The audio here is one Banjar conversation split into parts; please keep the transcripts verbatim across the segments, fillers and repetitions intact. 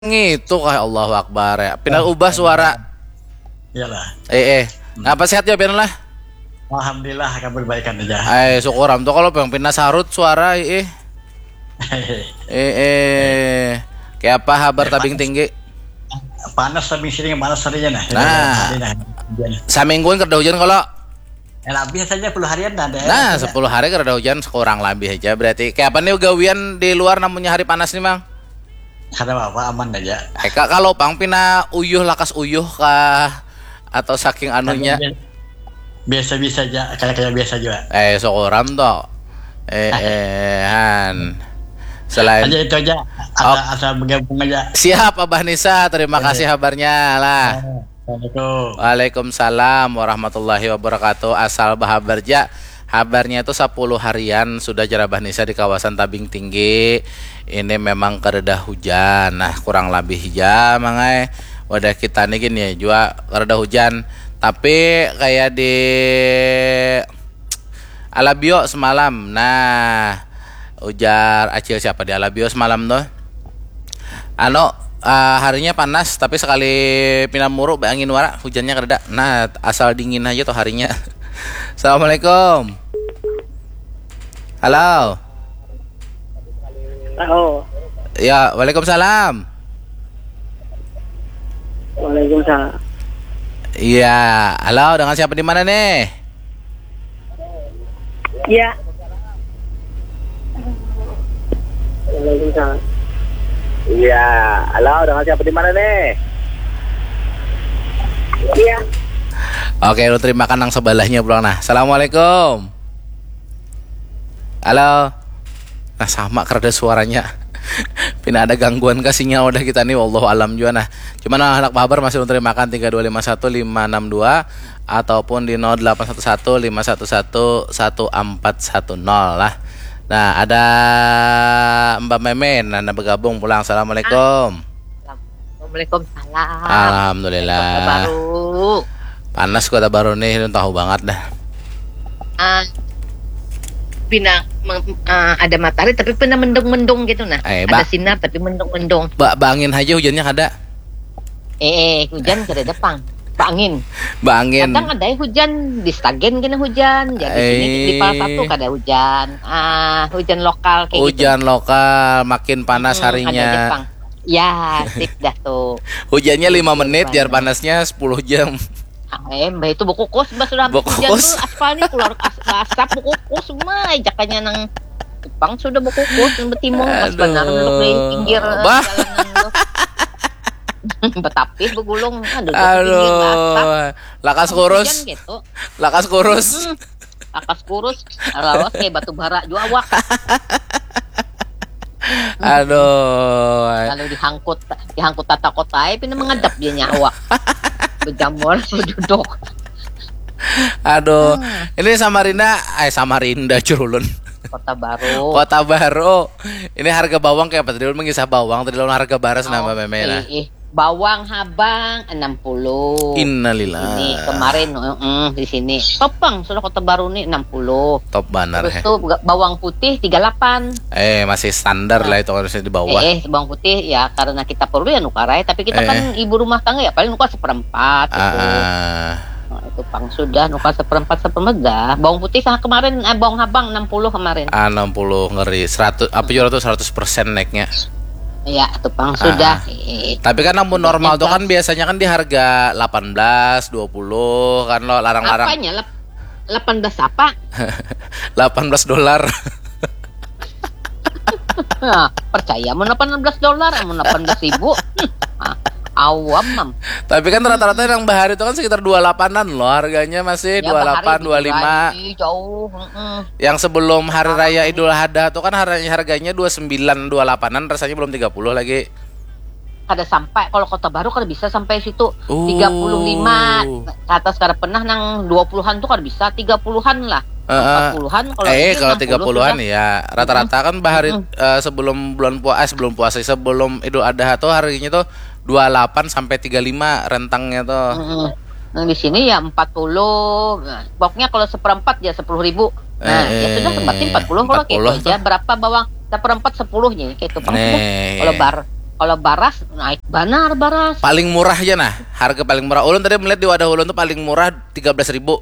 Ngitu kah, Allahu Akbar ya. Pina ubah suara. Iyalah. Eh eh. Napa sehat ya pian lah? Alhamdulillah kabar baikan aja. Ai syukur am tu kalau pang pina sarut suara eh. Eh eh. Kayak apa habar tabing tinggi? Panas tabing sini panas harinya nah. Nah. Hari nah. Hujan. Samingguan kada hujan kalau? Ya, lebih saja puluh harian ada. Nah, sepuluh hari kada hujan sekurang lebih aja berarti. Kayak apa nih gawian di luar namunnya hari panas nih, Mang? Kada apa-apa aman aja. Eh, Kak, kalau pang pina uyuh lakas uyuh kah atau saking anunya? Biasa-biasa aja, kayak kayak biasa juga. Eh, syukur am toh. Eh, eh, han. Selain Aja itu aja. Asal asal bergabung aja. Siap Abah Nisa, terima kasih habarnya lah. Assalamualaikum. Waalaikumsalam warahmatullahi wabarakatuh. Asal bahabar ja. Habarnya itu sepuluh harian sudah jar Abah Nisa di kawasan Tabing Tinggi. Ini memang kadada hujan. Nah, kurang lebih ja mangai. Wadah kita nih gini ya jua kadada hujan. Tapi kayak di Alabio semalam. Nah, ujar Acil siapa di Alabio semalam tuh? Anu, eh, harinya panas tapi sekali pina muru baangin wara, hujannya kadada. Nah, asal dingin aja tuh harinya. Assalamualaikum. Halo. Oh, Ya, waalaikumsalam. Waalaikumsalam. Iya, halo, dengan siapa di mana nih? Ya, Waalaikumsalam. Iya, halo, dengan siapa di mana nih? Iya, Oke, lu terima kan nang sebelahnya pulang nah. Assalamualaikum. Halo. Nah, sama kerada suaranya. Pina ada gangguan kah sinyal wadah kita nih, wallahu alam jua nah. Cuman anak bahabar masih ulun terimakan tiga dua lima satu lima enam dua ataupun di nol delapan satu satu lima satu satu satu empat satu nol lah. Nah, ada Mbak Meme nah, nah bergabung pulang. Assalamualaikum. Waalaikumsalam. Alhamdulillah. Baru. Panas Kota Baru nih, lu tahu banget dah. Ah, pina meng- ah, ada matahari tapi pina mendung-mendung gitu nah. Eh, Ada Mbak. Sinar tapi mendung-mendung. Ba bangin aja hujannya kada. Eh, eh, hujan kada ada pang. Bangin. Bangin. Kadang ada hujan di Stagen kena hujan. Jadi sini di Eh. Pal satu kada hujan. Ah, hujan lokal kayak Hujan lokal makin panas gitu. Hmm, ada aja harinya. Pang. Ya, sip dah tuh. Hujannya lima menit, jar Panas. Panasnya sepuluh jam. Ah, eh, mbah itu bekukus, mbah sudah Bekukus. Hujan tuh aspal nih keluar as- asap bekukus, mah jakannya nang Jepang sudah bekukus, nang betimung pas Aduh. Benar duduk di pinggir Bah. Jalanan tuh. Betapis begulung, aduh, di pinggir asap. Aduh, lakas kurus, Hujan gitu. Lakas kurus. Lakas kurus, lawas kayak batu bara jua awak. Aduh. Lalu dihangkut, dihangkut tata kotai, pina mengadap dia nyawa. Bejamur, beduduk. Aduh. Ini Samarinda, eh Samarinda curulun. Kota Baru. Kota Baru. Ini harga bawang kayak apa tadi, ulun mengisah bawang tadi, lawan harga baras nambah meme lah. Eh, eh. Bawang habang enam puluh. Innalillah. Ini kemarin mm, di sini. Topang sudah Kota Baru nih enam puluh. Top banner Terus ya. Tuh ga- bawang putih tiga delapan. Eh, masih standar lah itu harusnya di bawah. Eh, eh, bawang putih ya karena kita perlu ya nukar aja. Tapi kita Eh. Kan ibu rumah tangga ya paling nukar seperempat gitu. Ah, ah. Nah, itu pang sudah nukar seperempat seperempat dah. Bawang putih sama kemarin, eh, bawang habang enam puluh kemarin. Ah, enam puluh ngeri. Seratus apa juga tuh, seratus persen naiknya. Iya, itu pang Ah. Sudah. Eh, Tapi kan namun normal tuh kan Bebas. Biasanya kan di harga delapan belas, dua puluh kan lo larang-larang. Apanya? Lep- delapan belas apa? Delapan belas dolar. Nah, percaya mau delapan belas dolar, mau delapan belas ribu. Hmm, ah, awam mam. Tapi kan rata-rata yang bahari itu kan sekitar dua delapan-an loh harganya, masih Ya, dua delapan, bahari dua lima. Jauh. Mm-mm. Yang sebelum hari raya Idul Adha tuh kan har- harganya dua sembilan, dua delapan-an, rasanya belum tiga puluh lagi. Kada sampai, kalau Kota Baru kada bisa sampai situ. Oh. Tiga puluh lima ke atas kada pernah, nang dua puluhan tuh kada bisa, tiga puluhan lah. Heeh. Empat puluhan kalau Eh, ini kalau enam puluh tiga puluhan sudah. Ya, rata-rata kan bahari Mm-mm. eh, sebelum bulan puasa, eh, sebelum puasa, sebelum Idul Adha tuh harganya tuh dua delapan sampai tiga lima rentangnya tuh. Mm-mm. Nah, di sini ya empat puluh. Nah, pokoknya kalau seperempat ya sepuluh ribu. Nah, Eh, ya sudah eh, berarti empat puluh kalau empat puluh gitu aja. tuh. Berapa bawang? Seperempat sepuluh jadi kayak itu pang sudah. Nih. Kalau bar Kalau baras naik banar baras. Paling murah aja nah, harga paling murah. Ulun tadi melihat di wadah ulun tuh paling murah tiga belas ribu.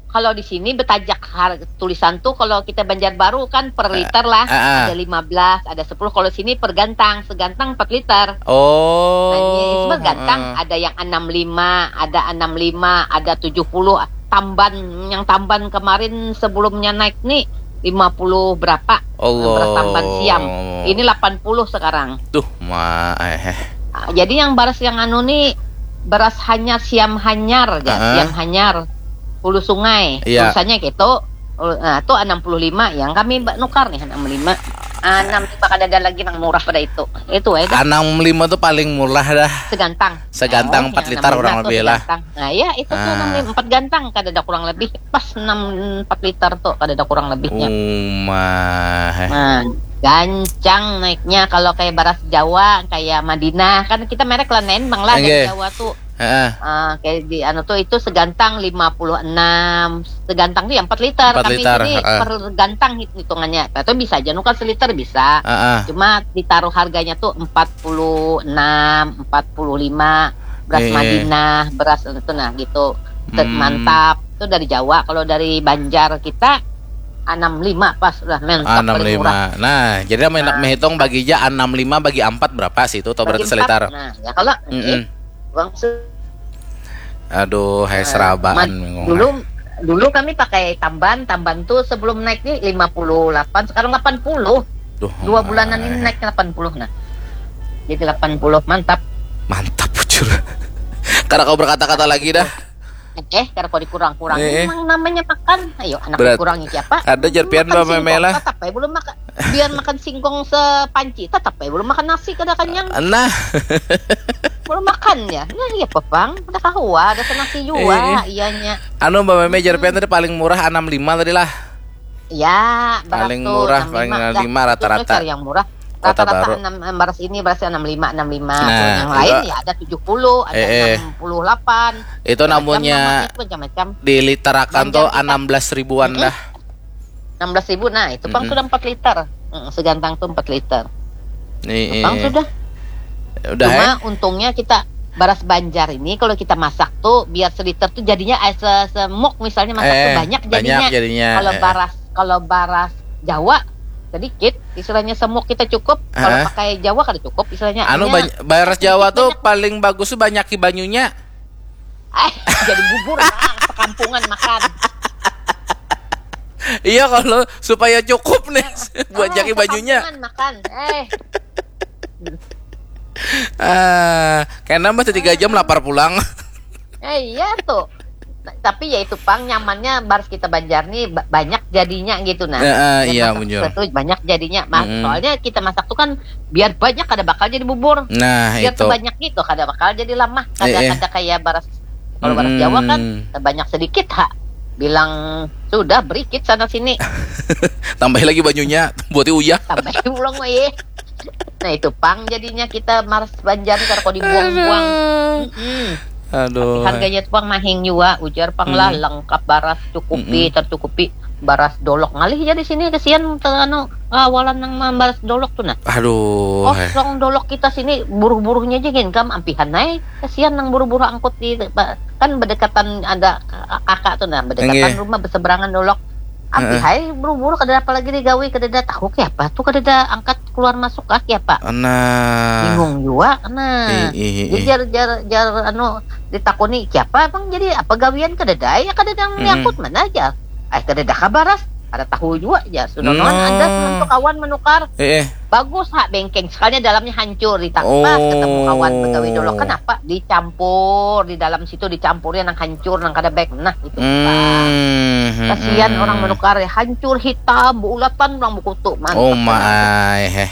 Kalau di sini betajak harga tulisan tuh kalau kita Banjarbaru kan per liter lah. Ah, ah. Ada lima belas, ada sepuluh. Kalau sini per gantang, segantang empat liter. Oh. Nah, ini semua gantang, ada yang enam lima, ada enam lima, ada tujuh puluh. Tamban, yang tamban kemarin sebelumnya naik nih lima puluh berapa? Allah. Beras tamban siam. Ini delapan puluh sekarang. Tuh, ma eh. Ah, jadi yang baras yang anu nih beras hanyar, siam hanyar ya, Heeh. Siam hanyar, Hulu Sungai. Iya. Tulisannya gitu. Nah, tuh enam puluh lima yang kami ba- nukar nih enam puluh lima. Enam lima kada ada lagi yang murah pada itu. Itu aja. Enam lima tuh paling murah dah. Segantang. Segantang Oh, empat ya, liter enam puluh lima kurang tuh lebih lah. Segantang. Nah, ya itu tuh Ah. enam lima, empat gantang kada ada kurang lebih. Pas enam empat liter tuh kada ada kurang lebihnya. Umah. Nah, gancang naiknya kalau kayak baras Jawa, kayak Madinah. Kan kita merek lah nembang lah dari Oke. Jawa tuh. Heeh. Ah, kayak di anu tuh itu segantang lima puluh enam, segantang tuh yang empat liter. Empat Kami liter, sini heeh. Per gantang hit- hitungannya. Atau bisa aja nukar seliter bisa. Heeh. Cuma ditaruh harganya tuh empat puluh enam, empat puluh lima, beras Iya. Madinah, beras itu nah gitu. Set Hmm. Mantap. Itu dari Jawa. Kalau dari Banjar kita enam lima pas udah mantap paling murah. Enam lima. Nah, jadi amun hendak menghitung bagi aja enam lima bagi empat berapa sih itu atau Bagi berarti empat. seliter? Nah, ya kalau Mm-mm. eh, uang se- Aduh, hai Nah, serabaan man- bingung. dulu dulu kami pakai tamban, tamban tuh sebelum naik nih lima puluh delapan, sekarang delapan puluh. Duh, Dua bulanan ini eh. Naik delapan puluh nah. Jadi delapan puluh mantap. Mantap bujur. Karena kau berkata-kata lagi dah. Eh, karena kau dikurang-kurang Eh, eh. Memang namanya makan. Ayo anak Berat. Dikurangi siapa? Ada jar pian, Makan Mbak Meme singkong, lah. Tetap aja belum makan. Biar makan singkong sepanci, tetap aja belum makan nasi kada kenyang. Nah, Belum makan ya. Nah, iya pepang, ada kahua, ada senasi jua Eh. iyanya. Anu Mbak Meme jar pian tadi paling murah enam lima tadi lah. Ya, beras Paling tuh, murah, enam lima paling dah. enam lima rata-rata. Itu cari yang murah. Kota Rata-rata Baru. enam, beras ini berasnya enam lima, enam lima. Nah, Yang lain itu- ya ada tujuh puluh, ada Eh, eh. enam puluh delapan. Itu Macam-macam namanya nama itu, macam-macam. Diliterakan Banjar tuh kita. Enam belas ribuan dah. Enam belas ribu, nah itu pang Mm-mm. Sudah empat liter. Mm, segantang tuh empat liter. Nih, Pang sudah. Udah Cuma eh? Untungnya kita beras Banjar ini kalau kita masak tuh biar seliter tuh jadinya eh, se- semok misalnya masak tuh Eh, banyak jadinya. banyak jadinya, Kalau eh. Baras kalau baras Jawa sedikit istilahnya semok kita cukup. Kalau Heeh. Pakai Jawa kada cukup istilahnya. Anu Hanya bany- baras sedikit Jawa tuh banyak. Paling bagus tuh banyak banyunya. Eh, jadi bubur lah, sekampungan makan. Iya kalau supaya cukup nih buat Ah, jaki banyunya. Sekampungan makan. Eh, Ah, kena mah tiga jam lapar pulang. Eh iya tuh. Tapi ya itu pang nyamannya baras kita Banjar nih ba- banyak jadinya gitu nah. Heeh, Biar iya, masak bujur. Tuh banyak jadinya. Mas, Mm-mm. Soalnya kita masak tuh kan biar banyak kada bakal jadi bubur. Nah, Biar itu. Tuh banyak gitu kada bakal jadi lamah. Kada Eh, eh. Kada kayak baras kalau baras Jawa kan Mm-mm. Banyak sedikit ha. Bilang sudah berikit sana sini. Tambahin lagi banyunya, buatnya uyah. Tambahin pulang weh. Nah itu pang jadinya kita baras Banjar kar kau dibuang-buang. Mm-mm. Aduh. Harganya tuh pang mahing jua ujar pang lah Hmm. Lengkap baras cukupi Mm-mm. Tercukupi baras dolok ngalih aja di sini kesian ter anu kawalan nang mambaras dolok tuh nah. Aduh. Kosong dolok kita sini buruh-buruhnya aja gin kam ampihan ai kesian nang buruh-buruh angkut di ba- kan berdekatan ada kakak tuh nah berdekatan Nggih. Rumah berseberangan dolok ampi Heeh. Hai buruh-buruh kada apa lagi digawi kada ada tahu kayak apa tuh kada ada angkat keluar masuk kah kayak apa Nah. Bingung jua nah. Ih, ih, Jadi ih. Jar jar jar anu ditakuni siapa emang jadi apa gawian kadada ya kadada yang Mm-mm. nyangkut mana aja. Ay kadada kabaras kada tahu jua ya sudah No. Nuan ada sementu kawan menukar Eh, eh. Bagus ha bengkeng sekalinya dalamnya hancur ditak Oh. Pas ketemu kawan pegawai dolok kenapa dicampur di dalam situ dicampurnya nang hancur nang kada baik nah itu. Hmm, hmm, Kasihan hmm. Orang menukar ya hancur hitam beulatan orang bekutu mantap. Oh my, heh.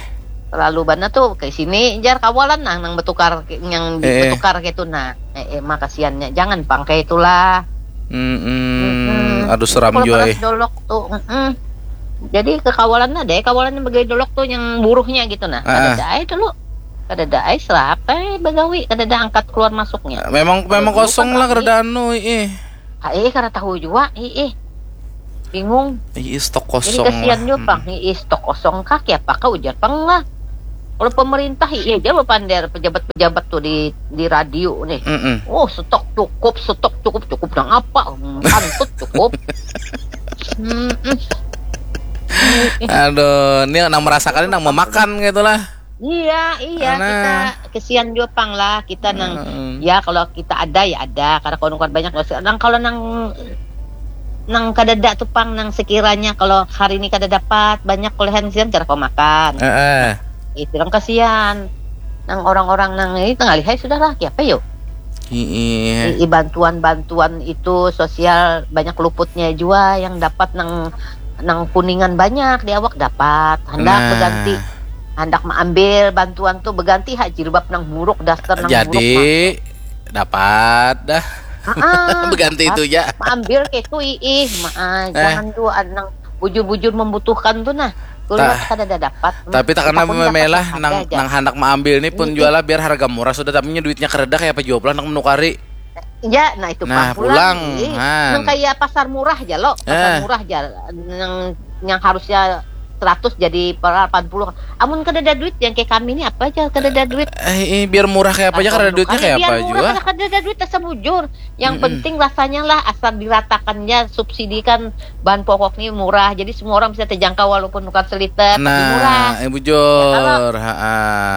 Terlalu banget tuh ke sini jar kawalan nah nang betukar yang Eh, eh. Betukar gitu nah. Eh, eh mah kasihannya jangan pang kayak itulah. Mm-mm. Mm-mm. Aduh seram Kalau jua baras eh. Dolok tuh, mm-mm. Jadi kekawalannya deh, kawalannya bagawi dolok tuh yang buruhnya gitu nah. Ah, ah. Kadada ai dulu. Kadada ai serapa bagawi, kadada angkat keluar masuknya. Memang memang Dulu kosong kan lah rame. Kada anu ih. Ah, eh kada tahu jua, ih, ih. Bingung. Ih, stok Jadi kosong kasihan lah. Jua pang, ih, stok kosong kah, kiapa kah ujar pang lah. Kalau pemerintah, iya aja bapander pejabat-pejabat tuh di di radio nih. Mm-mm. Oh, stok cukup, stok cukup, cukup nang apa? Hmm, Kantut cukup. Mm-mm. Aduh, ini nang merasakan nang memakan gitu lah. Iya, iya, Nah. Kita kesian juga pang lah kita nang Mm-mm. Ya, kalau kita ada ya ada, karena kalau nukar banyak nggak usah. Nang kalau nang nang kadada tuh pang nang sekiranya kalau hari ini kada dapat banyak kulehan siang cara kau makan. Heeh. Itu orang kasihan. Nang orang-orang nang ini tengah lihai sudah lah, kiapa yuk? Iya. I, i bantuan-bantuan itu sosial banyak luputnya juga yang dapat nang nang kuningan banyak di awak dapat. Hendak Nah. Berganti, hendak mengambil bantuan tuh berganti hak jilbab nang buruk, daster nang buruk. Jadi dapat dah. Ah, Berganti itu ya. Ambil kayak itu ih, maa, Eh. Jangan tuh nang bujur-bujur membutuhkan tuh nah. Kuliah Ta- kada ada dapat. Tapi tak kena Aku dapat memelah harga nang aja. Nang handak mengambil ini pun Ini. Jual lah biar harga murah sudah tapi duitnya kereda kayak apa jua pulang nang menukari. Ya, nah itu Nah, pang pulang. pulang, Ih. han. Nang kayak pasar murah aja lo, pasar Eh. murah aja. Nang yang harusnya seratus jadi delapan puluh. Amun kada ada duit yang kayak kami ini apa aja kada ada duit. Eh, eh, biar murah kayak apa aja Kalau karena duitnya kami kayak biar apa murah, juga. Kada kada ada duit asal bujur. Yang Mm-mm. penting rasanya lah asal diratakannya subsidi kan bahan pokok nih murah. Jadi semua orang bisa terjangkau walaupun bukan seliter tapi murah. Nah, eh, bujur, ha.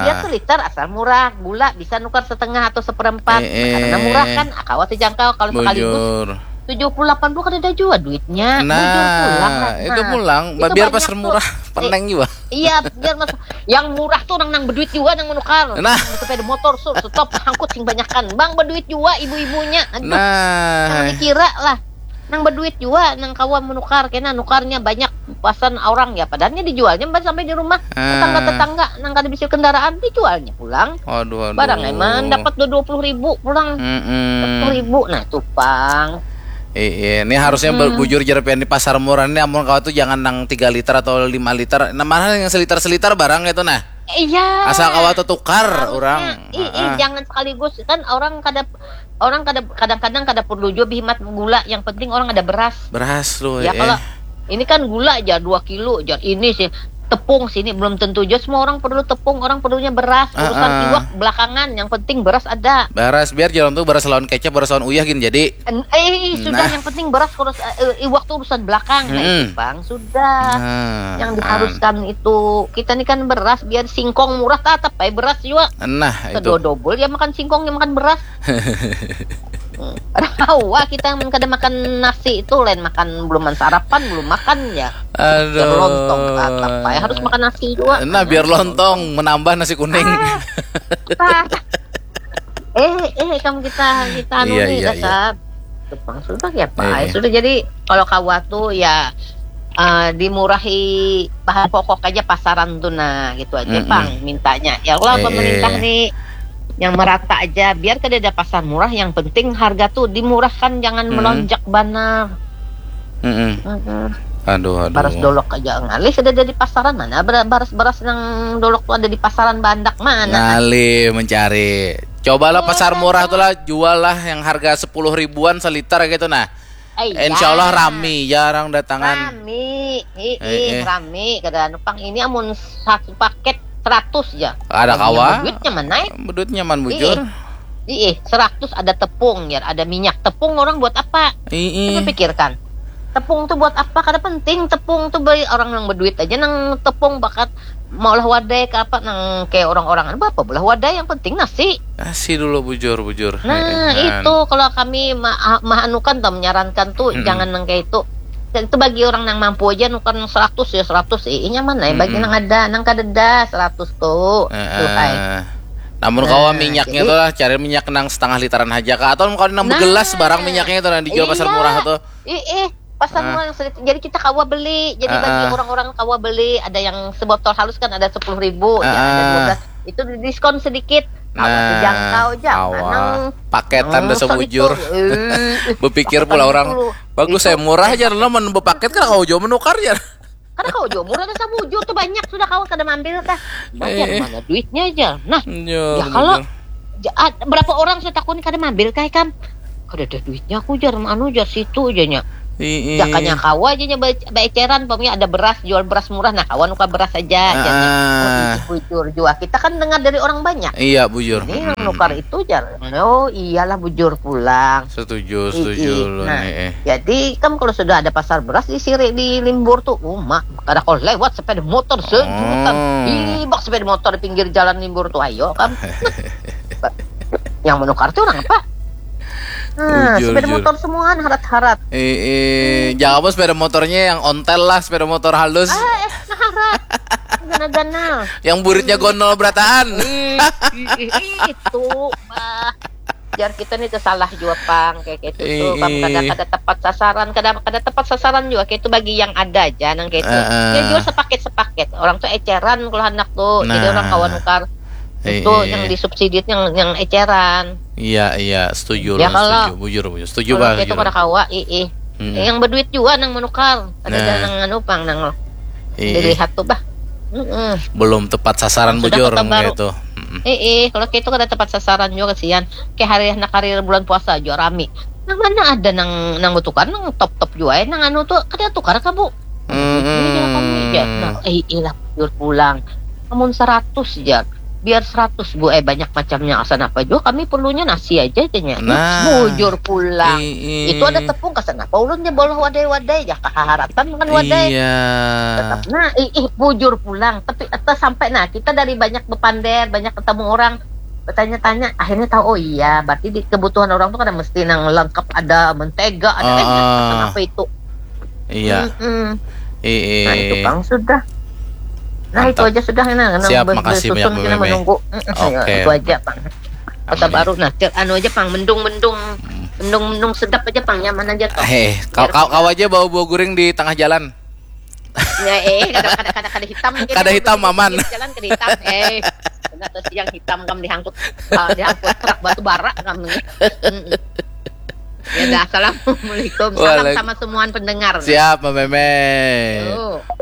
Dia seliter asal murah, gula bisa nukar setengah atau seperempat. Eh, eh. Karena murah kan, kawa terjangkau kalau sekaligus Bujur. tujuh puluh delapan puluh kada ada juga duitnya. Nah, Bujur pulang lah. Itu Nah, pulang, itu biar banyak pasar tuh. murah, Eh, peneng juga. Iya, biar mas yang murah tuh orang nang berduit juga nang menukar. Nah. Sepeda motor sur, stop, angkut sing banyakan. Bang berduit juga ibu-ibunya. Aduh, Nah, nang dikira lah. Nang berduit juga, nang kawan menukar, kena nukarnya banyak pasan orang ya. Padahalnya dijualnya sampai di rumah tetangga-tetangga nang kada bisa kendaraan dijualnya pulang. Aduh, aduh. Barang emang dapat dua puluh ribu pulang. Mm-mm. Dua puluh ribu nah tupang. Iya, ini harusnya hmm. Bujur jer pian di pasar murah ini amun kau tuh jangan nang tiga liter atau lima liter. Nah, mana yang seliter-seliter barang itu nah. Iya. Asal kawa tuh tukar orang. Ih, ih, jangan sekaligus kan orang kada orang kada kadang-kadang kada perlu juga bihimat gula yang penting orang ada beras. Beras lu. Ya eh. Kalau ini kan gula aja dua kilo aja ini sih tepung sini belum tentu juga semua orang perlu tepung orang perlunya beras urusan uh, uh. Iwak belakangan yang penting beras ada. Beras biar jalan tuh beras lawan kecap beras lawan uyah gini jadi. Eh sudah nah. Yang penting beras terus uh, iwak tuh urusan belakang hmm. Nah itu bang sudah nah, yang diharuskan an. Itu kita nih kan beras biar singkong murah tetap baik beras juga. Nah itu. Kedua double ya makan singkong ya makan beras. Rawa kita yang kada makan nasi itu lain makan belum sarapan belum makan ya. Aduh. Biar lontong apa ya harus makan nasi juga. Nah biar lontong menambah nasi kuning. Ah, eh eh kamu kita kita anu iya, nih iya, dasar. Iya. Tepang sudah ya pak. Eh, eh. Sudah jadi kalau kawa tuh ya uh, dimurahi bahan pokok aja pasaran tuh nah gitu aja mm -mm. Pang mintanya ya Allah eh, pemerintah eh. Nih yang merata aja biar kada ada pasar murah yang penting harga tuh dimurahkan jangan hmm. Melonjak banar. Mm -mm. Mm -mm. Aduh, aduh. Baras dolok aja ngalih sudah ada di pasaran mana baras baras nang dolok tuh ada di pasaran bandak mana. Ngalih mencari. Cobalah oh, pasar murah tuh lah jual lah yang harga sepuluh ribuan seliter gitu nah. Eh, insya Allah rame ya orang datangan. Rame, ih, eh, eh. Rame kada anu pang ini amun satu paket seratus ya. Ada kawa. Duit nyaman naik. Duit nyaman bujur. Iya, seratus ada tepung ya, ada minyak. Tepung orang buat apa? Iya. Coba pikirkan. Tepung tuh buat apa? Kada penting tepung tuh bagi orang yang berduit aja nang tepung bakat maulah wadai ke apa nang kayak orang-orang apa belah wadai yang penting nasi. Nasi dulu bujur bujur. Nah, itu kalau kami ma maanukan tuh menyarankan tuh hmm. Jangan nang kayak itu. Itu bagi orang yang mampu aja nukan seratus ya seratus eh, nyaman lah bagi hmm. Nang ada nang kadeda seratus tuh. Uh, namun nah, kalau minyaknya jadi, tuh lah cari minyak nang setengah literan aja kak atau kalau nang nah, begelas barang minyaknya itu nang dijual iya, pasar murah tuh. Ih, ih. Pasar ah. Murah yang sedikit. Jadi kita kawa beli. Jadi ah, bagi ah. Orang-orang kawa beli, ada yang sebotol halus kan ada sepuluh ribu, ah, ya, ada dua belas. Itu diskon sedikit. Nah, jangkau aja. Paketan hmm, sebujur. Berpikir pula orang bagus saya murah aja lo mau paket kan kau jauh menukar ya. Karena kau jauh murah ada sabujur tuh banyak sudah kau kada mampir tah. Banyak eh, mana duitnya aja. Nah, ya, ya kalau berapa orang saya takuni kada mampir kayak kam. Kada ada duitnya aku jar anu jar situ aja nya. Ii. Jakanya kawa aja nya ba- baeceran, pamnya ada beras, jual beras murah, nah kawa nukar beras aja. Jar nya. Oh, ii, bujur jua. Kita kan dengar dari orang banyak. Iya, bujur. Ini yang nukar itu jar. Oh, iyalah bujur pulang. Setuju, setuju. Nah, jadi kan kalau sudah ada pasar beras di sini di Limbur tuh, uma kada kalau lewat sepeda motor sejutan. Ih, bak sepeda motor di pinggir jalan Limbur tuh, ayo kan. Yang menukar tuh orang apa? Nah, sepeda motor semua harat-harat. Eh, eh, jangan apa sepeda motornya yang ontel lah, sepeda motor halus. Ah, eh, nah, harat. Gana-gana. Yang buritnya gondol berataan. Ih, ih, ih, itu, bah. Jar kita nih tuh salah jua pang kayak gitu tuh. Pang kada kada tepat sasaran, kada kada tepat sasaran juga kayak itu bagi yang ada aja nang kayak itu. Dia jual sepaket-sepaket. Orang tuh eceran kalau anak tuh. Jadi orang kawan nukar itu yang disubsidi yang yang eceran. Iya, iya, setuju. Ya, kalau setuju, bujur, bujur. Setuju, kalau bah, kita kada kawa, ih, ih. Yang berduit juga nang menukar. Ada nah. Nang anu pang nang dilihat tuh bah. Mm-mm. Belum tepat sasaran. Sudah bujur kota baru. Gitu. Mm-mm. Eh, eh, kalau kayak itu kada tepat sasaran juga kesian. Kayak hari nak hari bulan puasa juga rame. Nang mana ada nang nang betukar nang top top juga eh. Nang anu tuh kada tukar kah bu? Mm-mm. Nah, eh, ilah bujur pulang. Namun seratus jar. Biar seratus bu eh banyak macamnya asan apa juga kami perlunya nasi aja aja nya. Nah, bujur pulang. Itu ada tepung kesan apa ulun nya bolah wadai-wadai ya kaharatan makan wadai. Iya. Tetap nah ih, ih bujur pulang tapi atas sampai nah kita dari banyak bepander banyak ketemu orang bertanya-tanya akhirnya tahu oh iya berarti di kebutuhan orang tuh kan mesti nang lengkap ada mentega ada uh, eh, apa itu. Iya. Mm-mm. Iya. Nah itu pang sudah. Nah itu aja sudah nah. Siap, makasih banyak Bu Meme. Menunggu. Oke. Itu aja pang. Kota Baru nah, anu aja pang mendung-mendung, mendung-mendung sedap aja pang nyaman aja toh. Eh, kau kau kau aja bawa buah guring di tengah jalan. Ya eh kada kada kada kada hitam. Kada hitam aman. Jalan kada hitam. Eh. Kena tuh siang hitam kam dihangkut uh, dihangkut truk batu bara kam. Ya dah, assalamualaikum. Salam sama semua pendengar. Siap, Mbak Meme.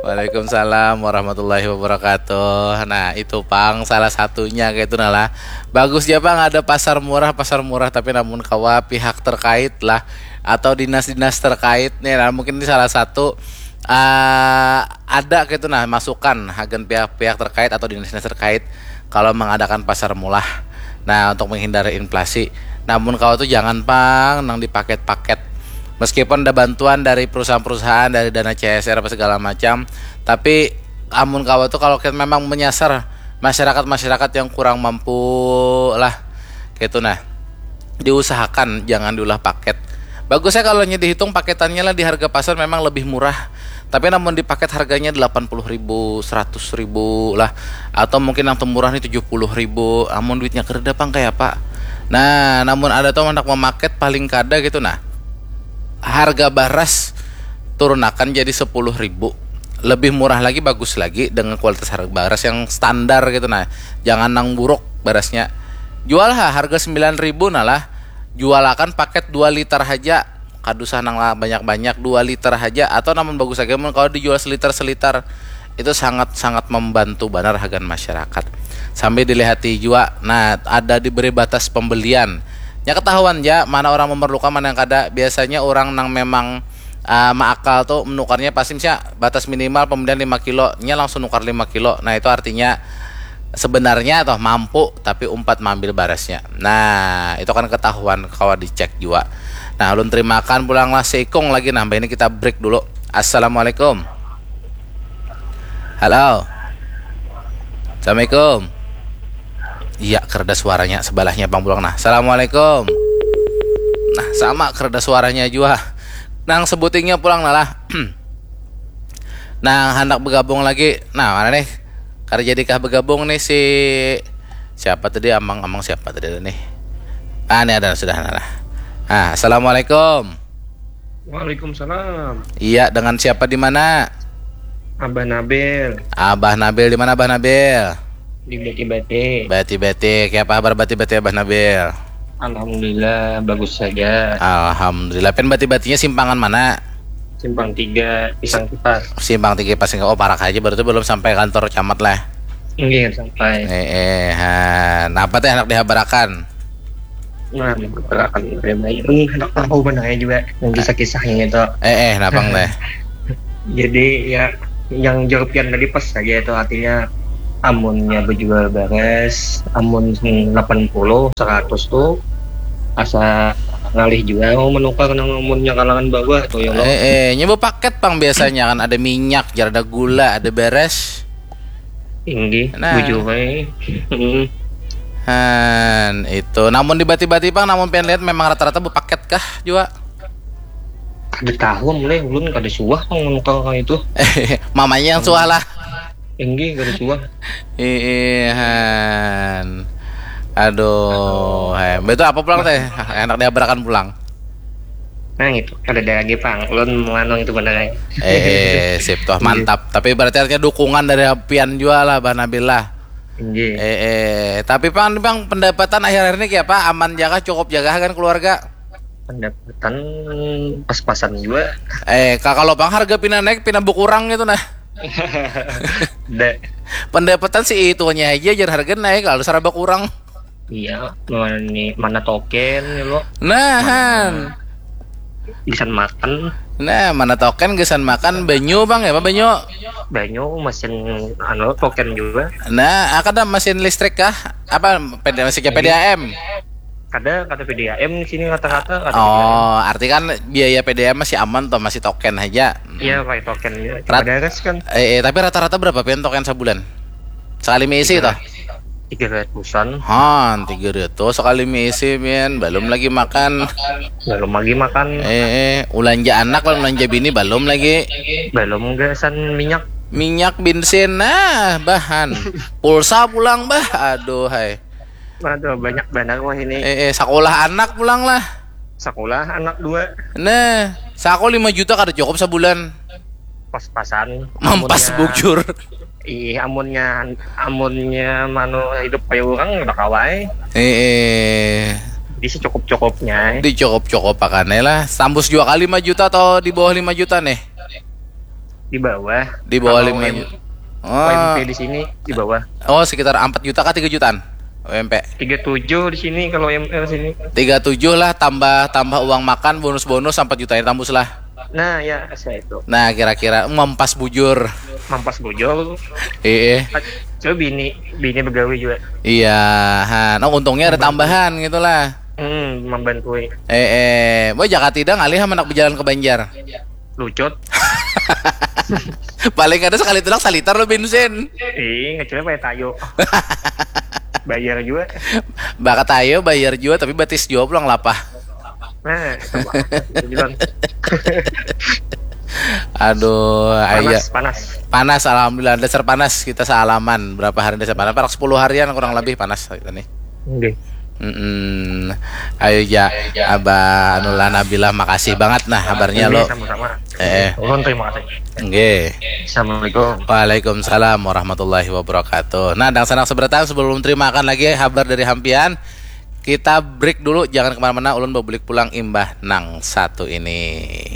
Waalaikumsalam warahmatullahi wabarakatuh. Nah, itu pang salah satunya kayak itu nah lah. Bagus ya pang ada pasar murah, pasar murah tapi namun kawa pihak terkait lah atau dinas-dinas terkait nih nah, mungkin ini salah satu uh, ada gitu nah masukan hagan pihak-pihak terkait atau dinas-dinas terkait kalau mengadakan pasar murah. Nah, untuk menghindari inflasi. Namun kau tuh jangan pang nang dipaket-paket. Meskipun ada bantuan dari perusahaan-perusahaan dari dana C S R apa segala macam, tapi amun kau tuh kalau kita memang menyasar masyarakat-masyarakat yang kurang mampu lah gitu nah diusahakan jangan diulah paket. Bagusnya kalau hanya dihitung paketannya lah di harga pasar memang lebih murah. Tapi namun di paket harganya delapan puluh ribu, seratus ribu lah. Atau mungkin yang temurah nih tujuh puluh ribu. Amun duitnya kereda pang kayak apa? Nah, namun ada tuh anak memaket paling kada gitu nah. Harga baras turunakan jadi sepuluh ribu. Lebih murah lagi, bagus lagi dengan kualitas harga baras yang standar gitu nah. Jangan nang buruk barasnya. Jual ha harga sembilan ribu nah lah. Jualakan paket dua liter haja. Kada usah nang banyak-banyak, dua liter haja atau namun bagus lagi mun kalau dijual seliter-seliter. Itu sangat-sangat membantu banar hagan masyarakat. Sambil dilihati jua, nah ada diberi batas pembelian. Nya ketahuan ja mana orang memerlukan mana yang kada. Biasanya orang nang memang uh, maakal tuh menukarnya pasti misalnya batas minimal pembelian lima kilo, nya langsung nukar lima kilo. Nah, itu artinya sebenarnya toh mampu tapi umpat maambil barasnya. Nah, itu kan ketahuan kawa dicek jua. Nah, ulun terimakan pulang lah seikung lagi nah, ini kita break dulu. Assalamualaikum. Halo. Assalamualaikum. Iya, kereda suaranya sebelahnya pang pulang nah. Assalamualaikum. Nah, sama kereda suaranya jua. Nang sebutingnya pulang nah lah. Nah, hendak bergabung lagi. Nah, mana nih? Kada jadikah bergabung nih si siapa tadi amang-amang siapa tadi nih? Ah, ini ada sudah nah. Ah, assalamualaikum. Waalaikumsalam. Iya, dengan siapa di mana? Abah Nabil. Abah Nabil di mana Abah Nabil? Di Beti-Beti. Beti-Beti. Kayak apa kabar Beti-Beti Abah Nabil? Alhamdulillah bagus saja. Alhamdulillah. Pen Beti-Betinya simpangan mana? Simpang tiga Pisang Kipar. Simpang tiga Pisang Kipar. Oh, parak aja berarti belum sampai kantor camat lah. Enggak sampai. Eh, eh, ha. Nah, apa teh anak dihabarakan? Nah, pergerakan pribadi ini hendak tahu benar ya juga yang kisah-kisahnya itu. Eh, eh, napang teh. Jadi ya, yang jar pian tadi pas saja itu, artinya amunnya bejual baras, amun delapan puluh, seratus tuh asa ngalih juga mau menukar nang amunnya kalangan bawah tuh ya lo. Eh, eh, nyoba paket pang biasanya kan, ada minyak, jar ada gula, ada beres. Tinggi, Nah. bujur bae. Hmm. Han, itu. Namun dibati-bati pang, namun pian lihat memang rata-rata bepaket kah juga? Kada tahu mulai ulun kada suah pang menukar kayak itu. Mamanya yang suah lah. Tinggi kada suah. Ih, han. Aduh, hai. Betul apa pulang teh? Enak diabarakan pulang. Nah itu kada ada lagi pang. Ulun menganu itu benar ya. Eh, sip tuh, mantap. Tapi berarti artinya dukungan dari pian juga lah, Bah Nabil lah. Tinggi. Eh, eh, tapi pang, pang pendapatan akhir-akhir ini kayak apa? Aman jaga, cukup jaga kan keluarga? Pendapatan pas-pasan juga. Eh, ka- kalau pang harga pina naik, pina berkurang gitu nah. Ada. Pendapatan sih itunya aja, jar harga naik, kalau saraba kurang. Iya, mana, mana token ya lo. Nah, han. Gasan makan. Nah, mana token gasan makan, banyu bang ya, apa banyu? Banyu mesin anu token juga. Nah, ada mesin listrik kah? Apa P D, masih ke P D A M? Kada, kada P D A M di sini rata-rata kada P D A M. Oh, arti kan biaya P D A M masih aman toh, masih token aja. Iya, pakai token juga. Rat- Beres kan? Eh, eh, tapi rata-rata berapa pian token sebulan? Sekali mengisi toh? Tiga ratusan. Han, tiga ratus sekali mengisi pian, belum lagi makan. Belum lagi makan. Eh, eh, ulanja anak lawan ulanja bini belum lagi. Belum gasan minyak. Minyak, bensin, nah, bahan. Pulsa pulang, bah. Aduh, hai. Aduh, banyak banar wah ini. Eh, eh, sekolah anak pulang lah. Sekolah anak dua. Nah, saku lima juta kada cukup sebulan. Pas-pasan. Mampas Amunnya- bujur. Ih, amunnya amunnya manu hidup kayak orang udah kawai. Eh, eh. Jadi secukup-cukupnya. Dicukup-cukup akan lah. Tembus dua kali lima juta atau di bawah lima juta nih? Di bawah. Di bawah Kalau lima M- juta. kalau M P Oh, di sini di bawah. Oh, sekitar empat juta kah tiga jutaan U M P? Tiga tujuh di sini kalau M L sini. Tiga tujuh lah, tambah tambah uang makan, bonus-bonus empat juta ini tembus lah. Nah ya, saya itu. Nah, kira-kira mampas bujur. Mampas bujur. Iya. Coba bini bini begawi juga. Iya, ha. Nah, untungnya ada tambahan gitu lah. Hmm, membantu. Eh, eh, boy, jaka tidak ngalih anak berjalan ke Banjar. Lucut. Paling ada sekali tulak salitar lo bensin. Ih, ngecilnya pakai tayo. Bayar juga. Bakat ayo bayar juga, tapi batis jua pulang lapah. Nah, coba. Bilang, Aduh, ayo. Panas, panas. Panas, alhamdulillah, dasar panas kita salaman. Berapa hari dasar panas? Parak sepuluh harian kurang lebih panas kita nih. Oke. Mm-mm. Ayo ja, Abah Anullah Nabilah, makasih banget nah kabarnya lo. Sama-sama. Eh, eh. Ulun terima kasih. Nggih. Assalamualaikum. Waalaikumsalam warahmatullahi wabarakatuh. Nah, dangsanak sabarataan, sebelum terimakan lagi kabar dari hampian, kita break dulu, jangan kemana-mana, ulun babulik pulang imbah nang satu ini.